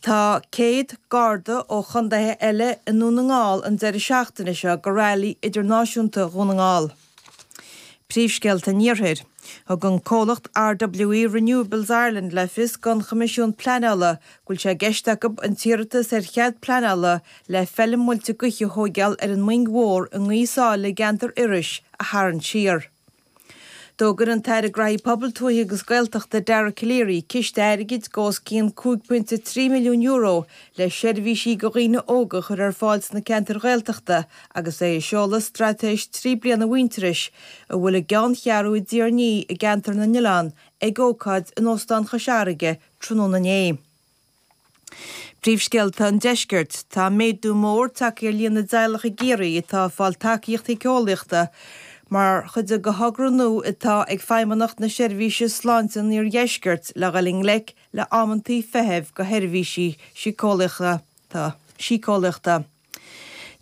Tá 100 Garda ó chontaetha eile i nDún na nGall an deireadh seachtaine seo go Railí Idirnáisiúnta Dhún na nGall. Príomhscéalta an Iarthair. Thug an comhlacht RWE Renewables Ireland le fios don Choimisiún Pleanála go bhfuil sé i gceist acu an t-iarratas ar chead pleanála le feilm muilte gaoithe a thóigeáil ar an Moing Mhór i nGaoth Sáile i gceantar Iorrais a tharraingt siar. D'fhógair an tAire Graithí Pobail, Tuaithe agus Gaeltachta Dara Calleary ciste airgid de os cionn €5.3 milliún le seirbhísí do dhaoine óga a chur ar fáil sna ceantair Ghaeltachta agus é ag seoladh Straitéis 3 bliana Mhuintearais a bhfuil a gceanncheathrú i dTír an Fhia i gCeantar na nOileán ag ócáid in Óstán Chois Fharraige tráthnóna inné. Príomhscéalta an Deiscirt. Tá méadú mór tagtha ar líon na dteaghlach i gCiarraí atá ag fáil tacaíocht shíceolaíochta mar chuid de thogra nua atá ag Feidhmeannacht na Seirbhíse Sláinte an Iardheiscirt le dhul i ngleic le amantaí feithimh do sheirbhísí síceolaíochta.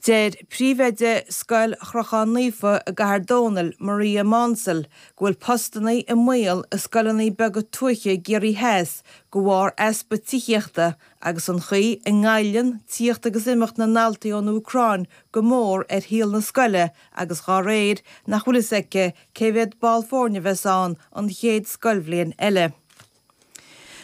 Deir príomhoide Scoil Chrochán Naofa i gCathair Dónall, Maria Maunsell, go bhfuil postanna i mbaol i scoileanna beaga tuaithe i gCiarraí Theas de bharr easpa tithíochta agus an chaoi a ngoilleann tíocht agus imeacht na ndaltaí ón Úcráin go mór ar shaol na scoile agus dá réir nach bhfuil fhios aici cé mhéad ball foirne a bheas ann an chéad scoilbhliain eile.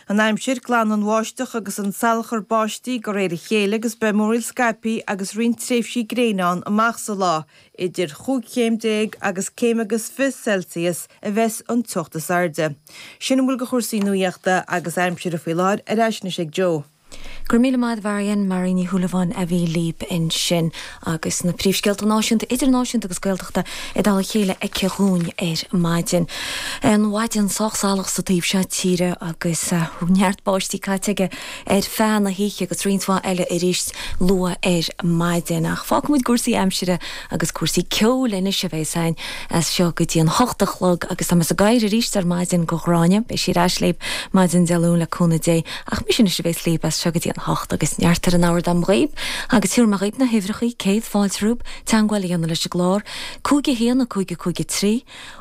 An aimsir, Glanfaidh an bháisteach agus an salachar báistí de réir a chéile agus beidh múraíl scaipthe agus roinnt tréimhsí gréine ann amach sa lá. Idir chúig chéim déag agus céim agus 20 Celsius a bheas an teocht is airde. Sin a bhfuil de chúrsaí nuaíochta agus aimsire faoi láthair. Ar ais anois ag Joe. Go raibh míle maith a'd a Mharion, Marion Ní Shúilleabháin a bhí libh ansin agus na príomhscéalta náisiúnta, idirnáisiúnta agus Gaeltachta i dtoll a chéile aici dhúinn ar maidin. An mhaidin sách salach sa taobh seo tíre agus neart báistí caite aige ar feadh na hoíche agus roinnt mhaith eile arís luath ar maidin. Ach fágfaimid cúrsaí aimsire agus cúrsaí ceoil anois a bheas againn as seo go dtí an hocht a chlog agus tá mé ag gáire arís ar maidin go Ghráinne. Beidh sí ar ais libh maidin Dé Luain le cúnamh Dé. Ach mise anois a bheas libh as seo go dtí an hocht agus neart ar an ábhar dom dhaoibh agus tabharfaidh mé dhaoibh na huimhreachaí, céad fáilte romhaibh teangmháil a dhéanamh leis an gclár, 5 1 5 5 3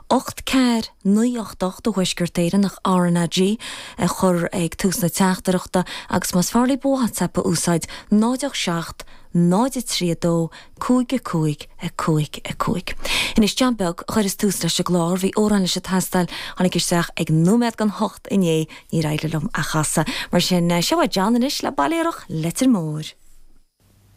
8 4 9 8 8 do Thuaisceart Éireann ach RnaG a chur ag tús na teachtaireachta agus más fearr libh WhatsApp a úsáid 0 8 7 0 3 2 5 5 5 5. Anois John Beag a chuireas tús leis an gclár, bhí amhrán leis ag teastáil, tháinig isteach ag nóiméad don hocht inné, níor éirigh liom a chasadh. Mar sin, seo é John anois le Bailéarach Leitir Móir.